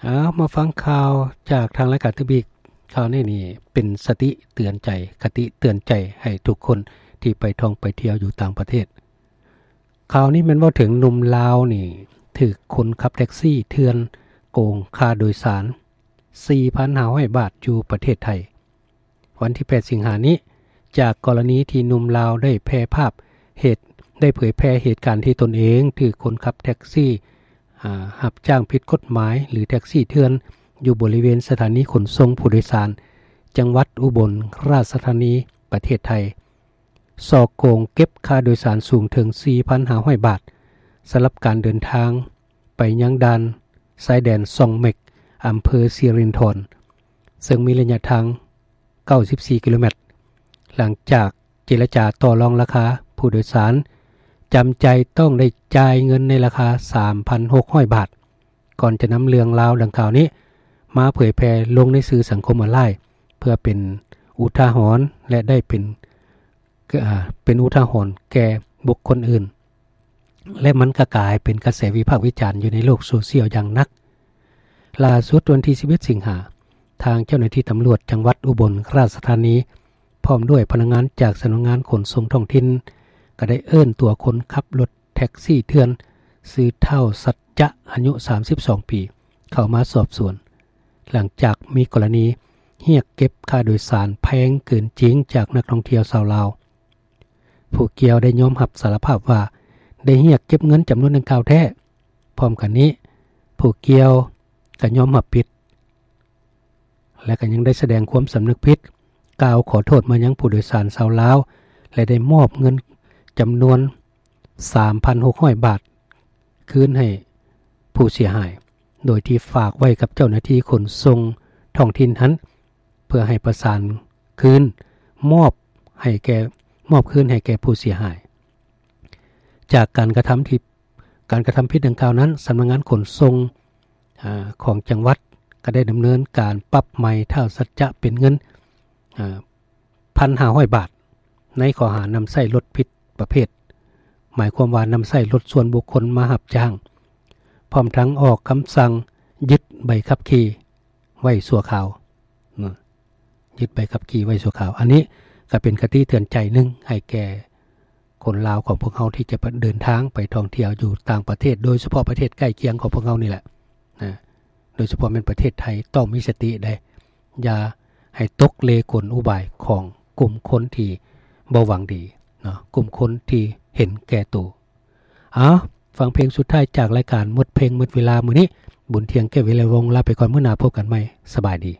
ເອົາ ມາຟັງຂ່າວຈາກທາງລາຍການຕື່ມອີກ. ຂ່າວນີ້ນີ້ເປັນສະຕິເຕືອນໃຈ, ຄະຕິເຕືອນໃຈໃຫ້ທຸກຄົນທີ່ໄປທ່ອງໄປທ່ຽວຢູ່ຕ່າງປະເທດ. ຂ່າວນີ້ແມ່ນເວົ້າເຖິງໜຸ່ມລາວນີ້ຖືກຄົນຂັບແທັກຊີເຖື່ອນໂກງຄ່າໂດຍສານສີ່ພັນຫ້າຮ້ອຍບາດຢູ່ປະເທດໄທ. ວັນທີແປດສິງຫານີ້ ຈາກກໍລະນີທີ່ໜຸ່ມລາວໄດ້ແຜ່ພາບເຫດ ໄດ້ເຜີຍແຜ່ເຫດການທີ່ຕົນເອງຖືກຄົນຂັບແທັກຊີ ອາ ຮັບຈ້າງຜິດກົດໝາຍ ຫຼື ແທັກຊີເຖື່ອນ ຢູ່ບໍລິເວນສະຖານີຂົນສົ່ງຜູ້ໂດຍສານ ຈັງຫວັດອຸບົນລາຊະທານີ ປະເທດໄທ ສໍ້ໂກງເກັບຄ່າໂດຍສານສູງເຖິງສີ່ພັນຫ້າຮ້ອຍບາດ ສຳລັບການເດີນທາງໄປຍັງດ່ານຊາຍແດນຊ່ອງເມັກ ອຳເພີສິລິນທອນ ເຊິ່ງມີໄລຍະທາງ ເກົ້າສິບສີ່ກິໂລແມັດ. ຫຼັງຈາກເຈລະຈາຕໍ່ລອງລາຄາ, ຜູ້ໂດຍສານຈຳໃຈຕ້ອງໄດ້ຈ່າຍເງິນໃນລາຄາສາມພັນຫົກຮ້ອຍບາດ ກ່ອນຈະນຳເລື່ອງລາວດັ່ງກ່າວນີ້ມາເຜີຍແຜ່ລົງໃນສື່ສັງຄົມອອນລາຍ ເພື່ອເປັນອຸທາຫອນ ແລະ ໄດ້ເປັນ ເປັນອຸທາຫອນແກ່ບຸກຄົນອື່ນ ແລະ ມັນກໍກາຍເປັນກະແສວິພາກວິຈານຢູ່ໃນໂລກໂຊຊຽວຢ່າງໜັກ. ລ່າສຸດວັນທີສິບເອັດສິງຫາ ທາງເຈົ້າໜ້າທີ່ຕຳຫຼວດຈັງຫວັດອຸບົນລາຊະທານີ ພ້ອມດ້ວຍພະນັກງານຈາກສຳນັກງານຂົນສົ່ງທ້ອງຖິ່ນ ກໍໄດ້ເອີ້ນຕົວຄົນຂັບລົດແທັກຊີເຖື່ອນ ຊື່ທ້າວ ສັດຈະ ອາຍຸສາມສິບສອງປີ ເຂົ້າມາສອບສວນ ຫຼັງຈາກມີກໍລະນີຮຽກເກັບຄ່າໂດຍສານແພງເກີນຈິງຈາກນັກທ່ອງທ່ຽວຊາວລາວ. ຜູ້ກ່ຽວໄດ້ຍອມຮັບສາລະພາບວ່າໄດ້ຮຽກເກັບເງິນຈຳນວນດັ່ງກ່າວແທ້. ພ້ອມກັນນີ້, ຜູ້ກ່ຽວກໍຍອມຮັບຜິດ ແລະ ກໍຍັງໄດ້ສະແດງຄວາມສຳນຶກຜິດ, ກ່າວຂໍໂທດມາຍັງຜູ້ໂດຍສານຊາວລາວ ແລະ ໄດ້ມອບເງິນຈຳນວນສາມພັນຫົກຮ້ອຍບາດຄືນໃຫ້ຜູ້ເສຍຫາຍ, ໂດຍທີ່ຝາກໄວ້ກັບເຈົ້າໜ້າທີ່ຂົນສົ່ງທ້ອງຖິ່ນຫັ້ນ ເພື່ອໃຫ້ປະສານຄືນ ມອບໃຫ້ແກ່ ມອບຄືນໃຫ້ແກ່ຜູ້ເສຍຫາຍ. ຈາກການກະທຳທີ່ ການກະທຳຜິດດັ່ງກ່າວນັ້ນ, ສຳນັກງານຂົນສົ່ງ ອາ ຂອງຈັງຫວັດກໍໄດ້ດຳເນີນການປັບໃໝທ້າວ ສັດຈະ ເປັນເງິນ ອາ ພັນຫ້າຮ້ອຍບາດ ໃນຂໍ້ຫານຳໃຊ້ລົດຜິດປະເພດ, ໝາຍຄວາມວ່ານຳໃຊ້ລົດສ່ວນບຸກຄົນມາຮັບຈ້າງ, ພ້ອມທັງອອກຄຳສັ່ງຍຶດໃບຂັບຂີ່ໄວ້ຊົ່ວຄາວເນາະ, ຍຶດໃບຂັບຂີ່ໄວ້ຊົ່ວຄາວ. ອັນນີ້ກໍເປັນຄະຕິເຕືອນໃຈໜຶ່ງໃຫ້ແກ່ຄົນລາວຂອງພວກເຮົາທີ່ຈະເດີນທາງໄປທ່ອງທ່ຽວຢູ່ຕ່າງປະເທດ, ໂດຍສະເພາະປະເທດໃກ້ຄຽງຂອງພວກເຮົານີ້ແຫຼະນະ, ໂດຍສະເພາະແມ່ນປະເທດໄທ, ຕ້ອງມີສະຕິເດ້. ຢ່າໃຫ້ຕົກເລກົນອຸບາຍຂອງກຸ່ມຄົນທີ່ບໍ່ຫວັງດີເນາະ, ກຸ່ມຄົນທີ່ເຫັນແກ່ໂຕ. ເອົາ, ຟັງເພງສຸດທ້າຍຈາກລາຍການໝົດເພງໝົດເວລາມື້ນີ້. ບຸນທຽງ ແກ້ວວິໄລວົງ ລາໄປກ່ອນ, ມື້ໜ້າພົບກັນໃໝ່. ສະບາຍດີ.